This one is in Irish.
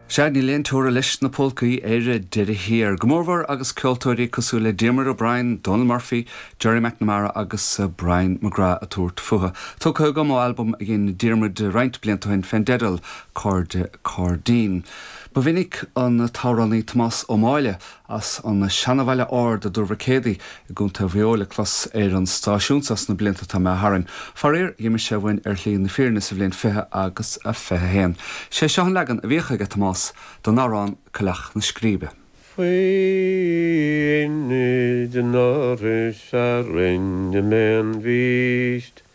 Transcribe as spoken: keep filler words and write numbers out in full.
Sea níl aon teora leis na polcaí ar deireadh thiar. Go mórmhór agus ceoltóirí cosúil le Diarmuid O'Brien, Donal Murphy, Gerry McNamara agus uh, Brian McGrath ag tabhairt fúthu. Tugtha agam ó albam a dhein Diarmuid roinnt blianta ó shin fén dteideal Cairde Cairdín. Ba mhinic an t-amhránaí Tomás Ó Máille as an Seanabhaile Ard i dTuar Mhic Éadaigh i gContae Mhaigh Eo le clos ar an stáisiún seo sna blianta atá imithe tharainn. Faraor d'imigh sé uainn ar shlí na fírinne sa bhliain fiche agus a fiche haon. Sé seo an leagan a bhíodh aige Tomás don amhrán Coileach na Scríbe. Faoin den áris a rinne mé an bhíst,